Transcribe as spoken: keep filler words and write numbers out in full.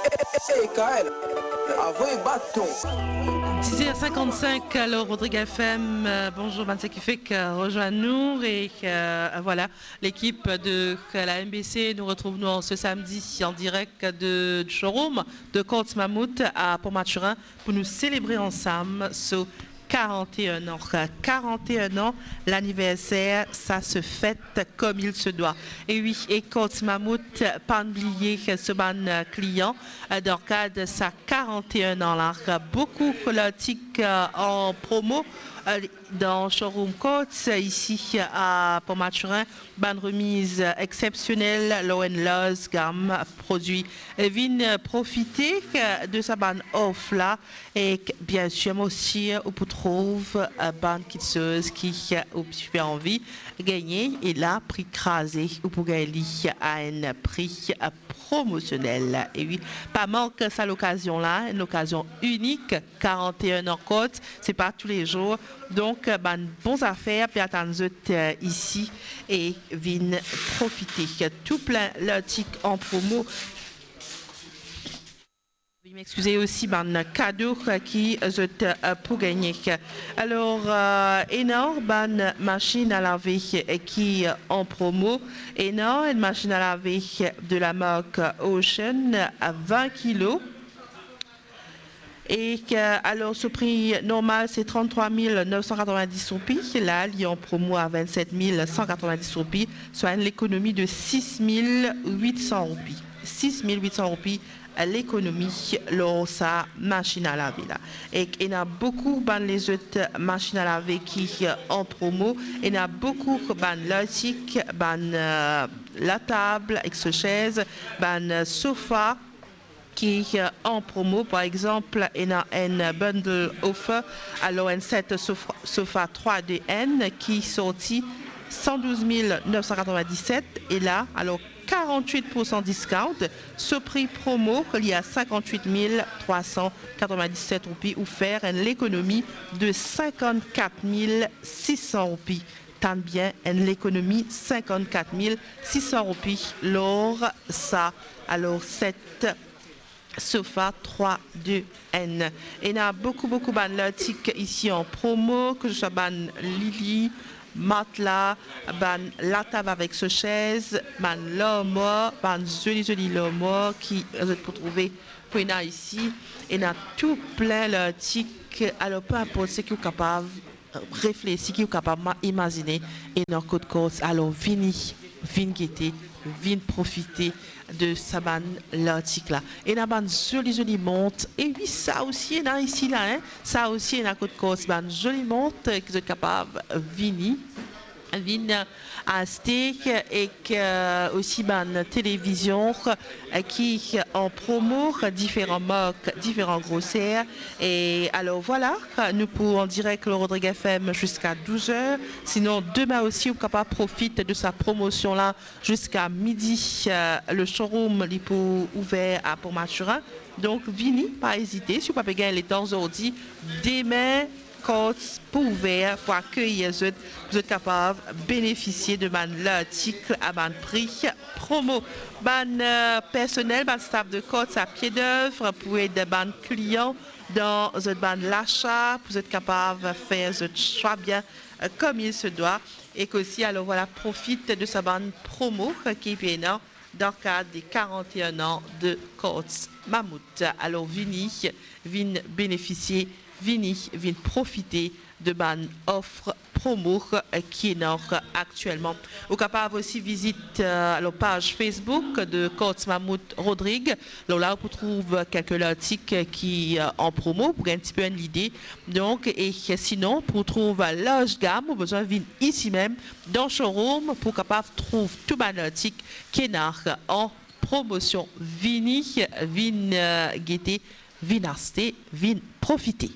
Hey, Kael, avoy baton. Six heures cinquante-cinq, alors Rodrigue F M, euh, bonzour bann seki fek, euh, rezwenn nou e, euh, voilà, lekip de la M B C, nou retrouv nou an se samdi an direk de, du showroom de Courts Mammouth a Port Mathurin pou nou selebre ansam so quarante et un an. Quarante et un an, l'anniversaire, ça se fête comme il se doit. E wi, e Courts Mammouth, pa'nn bliye so bann klian, euh, dan kad sa quarante et un an la. Boukou lartik, euh, an promo, euh, dan showroom Courts, euh, isi, euh, a Port Mathurin, bann remiz exsepsionel lor enn larz gam prodwi. Vinn profite, euh, de sa bann of la, e, bien sir, mo sir ou pou trouv, euh, bann kiksoz ki, euh, ou ti pe anvi gagne, e la, pri kraze, ou pou gagn li a enn pri, euh, promosionel. E wi, pa mank sa lokazion la, enn lokazion inik, quarante et un an Courts, se pa toulezour. Donk, bann bon zafer pe atann zot, euh, isi, e vinn profite. Tou plin lartik an promo. Veuillez m'excuser, osi bann kado ki zot, euh, pou gagne. Alor, euh, ena bann masinn a lave ki an promo, ena enn masinn a lave de la mark Ocean a vin kilo. E, euh, alor, so pri normal se trant-trwa mil nef san katrovin-dis roupi, la li an promo a vinn-set mil san katrovin-dis roupi, swa enn lekonomi de sis mil wit san roupi. Sis mil wit san roupi, lekonomi lor sa masinn a lave la. E ena boukou bann lezot masinn a lave ki an promo, ena boukou bann lartik, bann, euh, latab ek so sez, bann sofa ki, euh, an promo. Par exanp, ena enn bundle offer, alor enn set sofa, sofa trwa de enn ki sorti san douz mil nef san katrovin-diset, e la, alor, karant-wit pou san discount, so pri promo, li a sinkant-wit mil trwa san katrovin-diset roupi, ou fer enn lekonomi de sinkant-kat mil sis san roupi. Tann bien, enn lekonomi sinkant-kat mil sis san roupi lor sa, alor, set sofa trwa de enn. Ena boukou, boukou bann lartik isi an promo, ke se swa bann lili, matla, bann latab avek so sez, bann larmwar, bann zoli, zoli larmwar ki zot pou trouve, pou ena isi. Ena tou plin lartik, alor, pe inport seki ou kapav reflesi, ki ou kapav ma-, imazine, ena kot Courts. Alor, vini, vinn gete, vinn profite de sa bann lartik la. Ena bann zoli, zoli mont. E wi, sa osi ena isi la, hein. Sa osi ena kot Courts, bann zoli mont ki zot kapav vini, vinn aste, ek, euh, osi bann televizion, euh, ki an promo, diferan mark, diferan groser. E alor, vwala, nou pou an direk lor Rodrigue F M ziska douz er. Sinon, demin osi, ou kapav profit de sa promosion la ziska midi. Euh, le showroom, li pou ouver a Port Mathurin. Donk, vini, pa ezite. Si ou pa pe gagn letan zordi, demin, Courts pou ouver pou akeyir zot, pou zot kapav benefisie de bann lartik a bann pri promo. Bann, euh, personel, bann staff de Courts a pie dev pou ed bann klian dan zot bann lasa, pou zot kapav fer zot swa bien, euh, comme il se doit. Ek osi, alor, vwala, profit de sa bann promo ki pe ena dan kad de quarante et un an de Courts Mammouth. Alor, vini, vinn benefisie, vini, vinn profite de bann of promo ki ena aktielman. Ou kapav osi vizit, euh, alor, paz Facebook de Courts Mammouth Rodrigue. Alor la, ou pou trouv kelke lartik ki, euh, an promo, pou gagn enn tipe enn lide. Donk, e sinon, pou trouv larz gam, ou bizin vinn isi mem, dan showroom pou kapav trouv tou bann lartik ki ena an promosion. Vini, vinn, euh, gete, vinn aste, vinn profite.